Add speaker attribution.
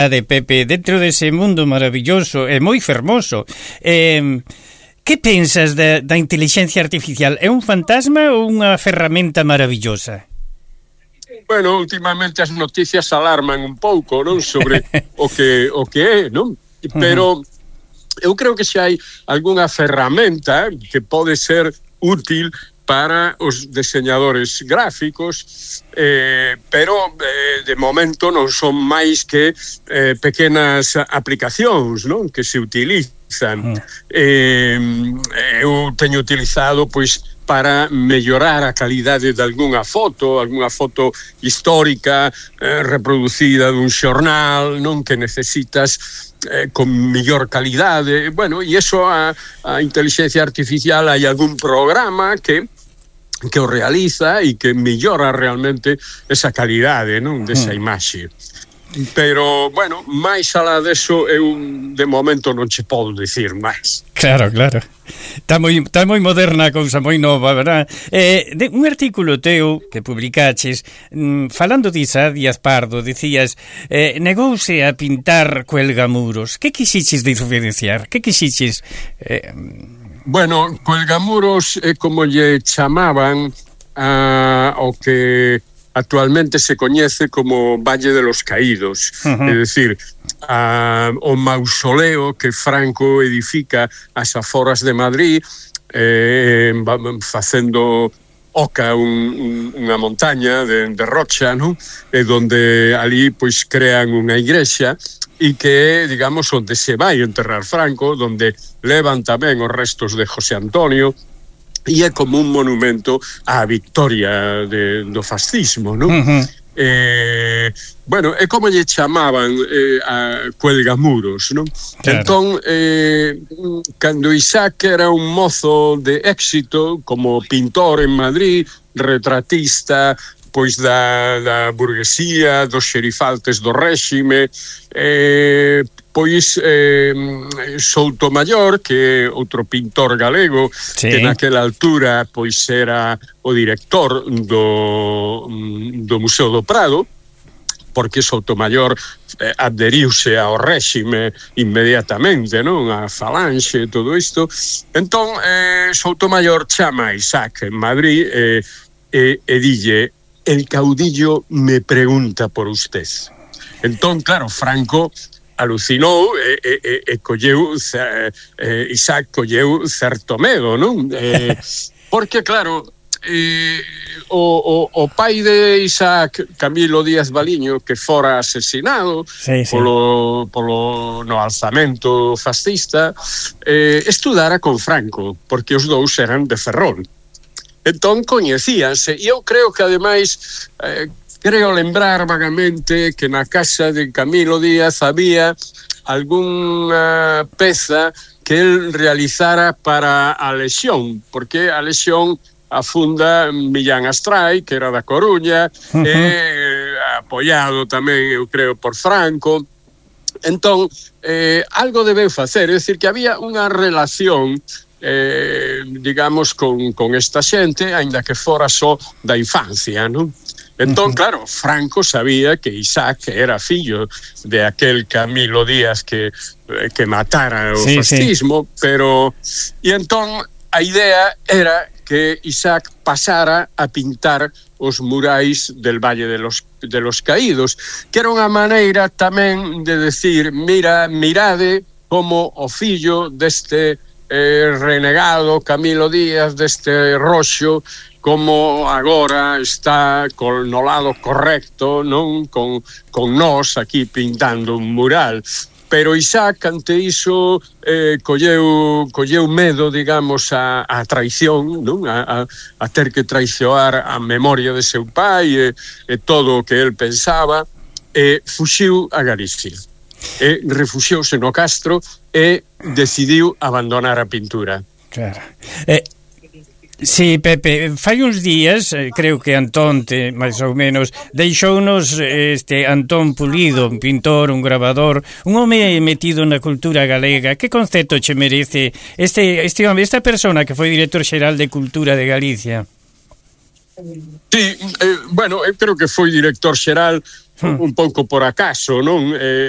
Speaker 1: de Pepe, dentro dese mundo maravilloso e moi fermoso, que pensas da inteligencia artificial? É un fantasma ou unha ferramenta maravillosa?
Speaker 2: Bueno, últimamente as noticias alarman un pouco, non, sobre o que é, non? Pero eu creo que xa hai algunha ferramenta que pode ser útil para os deseñadores gráficos, pero de momento non son máis que pequenas aplicacións, non, que se utilizan. Eu teño utilizado, pois, para mellorar a calidade de algunha foto histórica reproducida dun xornal, non, que necesitas con mellor calidade. Bueno, e iso a inteligencia artificial, hai algún programa que o realiza e que mellora realmente esa calidade, non, desa imaxe. Pero, bueno, máis alá deso eu de momento non che podo dicir máis.
Speaker 1: Claro. Está moi moderna a cousa, moi nova, verdad? Un artículo teu que publicaches falando de Isaac Díaz Pardo, dicías negouse a pintar cuelgamuros. Que quisiches diferenciar? Que quisiches?
Speaker 2: Bueno, cuelgamuros é como lle chamaban ao que actualmente se coñece como Valle de los Caídos. É dicir, o mausoleo que Franco edifica ás aforas de Madrid, facendo oca unha montaña de rocha, non? E donde ali pois crean unha igrexa e que é, digamos, onde se vai enterrar Franco, donde levan tamén os restos de José Antonio, e é como un monumento á victoria do fascismo, non? Bueno, é como lle chamaban a cuelgamuros, non? Claro. Entón, cando Isaac era un mozo de éxito como pintor en Madrid, retratista, pois da burguesía, dos xerifaltes do réxime, pois Soutomaior, que é outro pintor galego, sí, que naquela altura pois era o director do Museo do Prado, porque Soutomaior adheriuse ao réxime inmediatamente, non? A Falanxe e todo isto. Entón, Soutomaior chama a Isaac en Madrid e dille: el caudillo me pregunta por usted. Entón, claro, Franco alucinou e colleu, Isaac colleu certo medo, non? Porque, claro, o pai de Isaac, Camilo Díaz Baliño, que fora asesinado polo no alzamento fascista, estudara con Franco, porque os dous eran de Ferrol. Entón coñecíanse, e eu creo que ademais creo lembrar vagamente que na casa de Camilo Díaz había algunha peza que el realizara para a Lexión, porque a Lexión afunda Millán Astray, que era da Coruña, apoiado tamén, eu creo, por Franco. Entón, algo debeu facer, é dicir, que había unha relación digamos, con esta xente, aínda que fora só da infancia, non? Entón, claro, Franco sabía que Isaac era fillo de aquel Camilo Díaz que matara o fascismo, pero... E entón, a idea era que Isaac pasara a pintar os murais del Valle de los Caídos, que era unha maneira tamén de decir, mirade como o fillo deste renegado Camilo Díaz, deste roxo, como agora está no lado correcto, non, con nós aquí pintando un mural. Pero Isaac, ante iso, colleu medo, digamos, a traición, non? A ter que traicionar a memoria de seu pai e todo o que el pensaba, e fuxiu a Galicia. Refuxiouse no Castro e decidiu abandonar a pintura.
Speaker 1: Claro. Sí, Pepe, fai uns días, creo que Antón, máis ou menos, deixounos Antón Pulido, un pintor, un grabador, un home metido na cultura galega. Que concepto che merece este home, esta persona que foi director xeral de Cultura de Galicia?
Speaker 2: Sí, bueno, eu creo que foi director xeral un pouco por acaso, non?